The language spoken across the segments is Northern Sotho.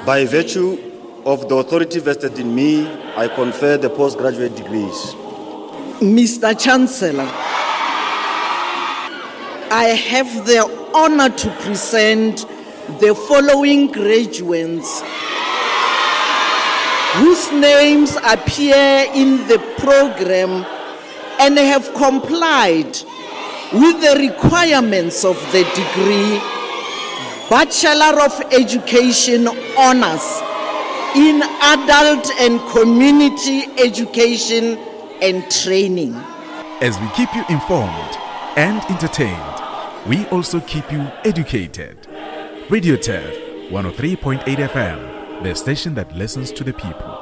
By virtue of the authority vested in me, I confer the postgraduate degrees. Mr. Chancellor, I have the honor to present the following graduates whose names appear in the program and have complied with the requirements of the degree Bachelor of Education Honors in Adult and Community Education and Training. As we keep you informed and entertained, we also keep you educated. Radio Turf 103.8 FM, the station that listens to the people.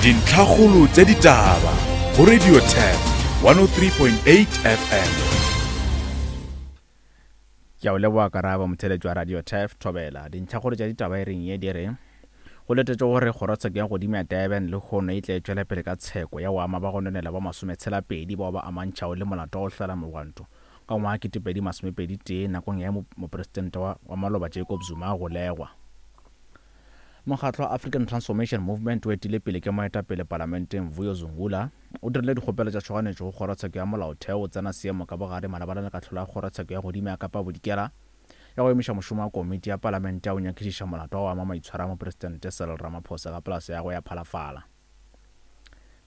Dintlhakgolo tša ditaba go Radio Turf 103.8 FM. Ke a o leboga Karabo, motheeletši wa Radio Turf, Thobela. Dintlhakgolo tša ditaba e reng ye di re, Go letetšwe gore kgorotsheko ya godimo ya Durban lehono e tle e tšwele pele ka tsheko ya go ama ba go nonela ba masometshela-pedi bao ba amantšhago le molato wa go hlola mogwanto ka ngwaga 2021 nakong ya ge mopresidente wa wa maloba Jacob Zuma a golegwa. Mokgatlo wa African Transformation Movement o etile pele ke moetapele palamenteng Vuyo Zungula o dirile dikgopelo tša tšhoganetšo go kgorotsheko ya molaotheo go tsena seemo ka bogare malebana le kahlolo ya kgorotsheko ya godimo ya Kapa Bodikela ya go emiša mošomo wa komiti ya palamente ya go nyakišiša molato wa go ama maitshwaro a Mopresidente Cyril Ramaphosa ka polase ya gagwe ya Phalafala.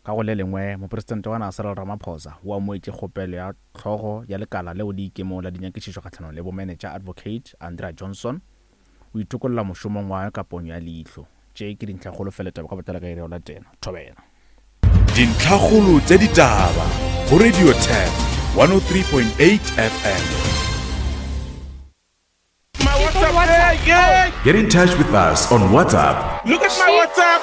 Ka go le lengwe, Mopresidente wa naga Cyril Ramaphosa o amoetše kgopelo ya hlogo ya lekala leo le ikemego la dinyakišišo kgahlanong le bomenetša Advocate Andrea Johnson o itokolla mošomong wa gagwe ka ponyo ya leihlo. Tše ke dintlhakgolo fela taba ka botlalo ka iri ya go latela. Thobela. Dintlhakgolo tša ditaba go Radio Turf 103.8 FM. My WhatsApp, yeah, Get in touch with us on WhatsApp. Look at my WhatsApp,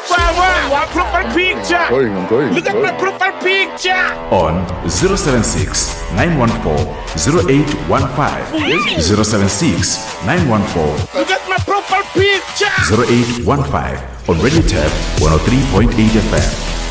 my profile picture. I'm going, I'm going. Look at my profile picture. On 076 914 0815. 076 914 Look at my profile picture. 0815 on Radio Turf 103.8 FM.